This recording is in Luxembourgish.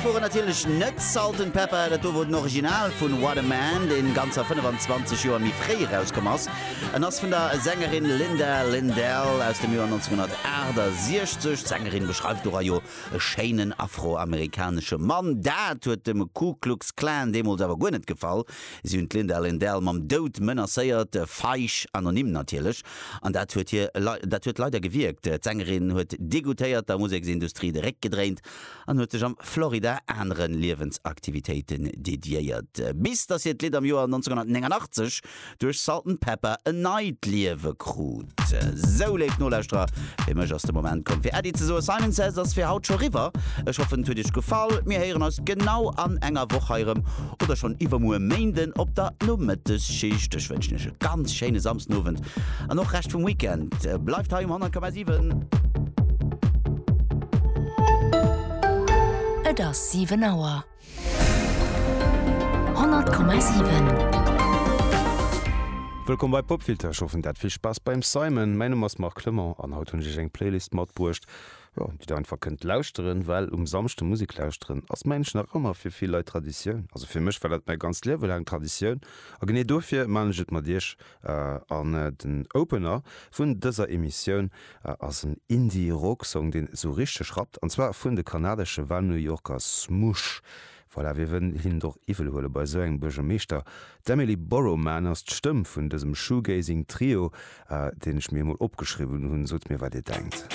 Dat woren natierlech net Salt-N-Pepa, dat do wor den Original vun What a Man, deen ganzer 25 Joer méi fréi erauskomm ass. En ass vun der Sängerin Linda Lyndell aus dem Joer 1968. D'Sängerin beschreift dora jo e schéinen afroamerikanesche Mann. Dat huet dem Ku Klux Klan deemools awer guer net gefall. Si hunn d'Linda Lyndell mam Doud menacéiert, feig anonym natierlech. An dat huet hir, dat huet leider gewierkt. D'Sängerin huet degoûtéiert der Museksindustrie de Réck gedréint an huet sech am Florida anere Liewensaktivitéiten dediéiert. Bis datt hiert Lidd am Joer 1989 duerch Salt-N-Pepa en neit Liewe krut. Sou, léif Nolauschterer, fir mech ass de Moment komm fir Äddi ze soen. Simon Says ass fir haut scho riwwer. Ech hoffen et huet iech gefall. Mir héieren eis genau an enger Woch hei erëm oder schonn iwwermuer Méinden op der Nomëttesschicht. Ech wënschen iech e ganz schéine Samsdenowend an och Rescht vum Weekend. Bleift hei um 100,7. Et ass 7 Auer. 100,7. Wëllkomm bei Popfilter, ech hoffen der hat vill Spaass beim Simon. Mäin Numm ass Marc Clement an haut hunn ech iech eng Playlist matbruecht, jo, déi der einfach kënnt lauschteren, well um Samschde Musek lauschteren ass mengen ech nach ëmmer fir vill Leit Traditioun. Also fir mech war dat mäi ganzt Liewe laang Traditioun a genee dofir man ech et mat iech. An den Opener vun dëser Emissioun ass en Indie-Rock-Song, deen esou richteg rappt, an zwar vun de kanadesche Wahl-New Yorker Smush. Voilà, wie wëll hinnen et och iwwel huele bei esou engem Buergermeeschter? D'Emily Borrowman ass d'Stëmm vun dësem Shoegazing Trio, deen ech mir emol opgeschriwwen hunn. Sot mir, wat dir denkt.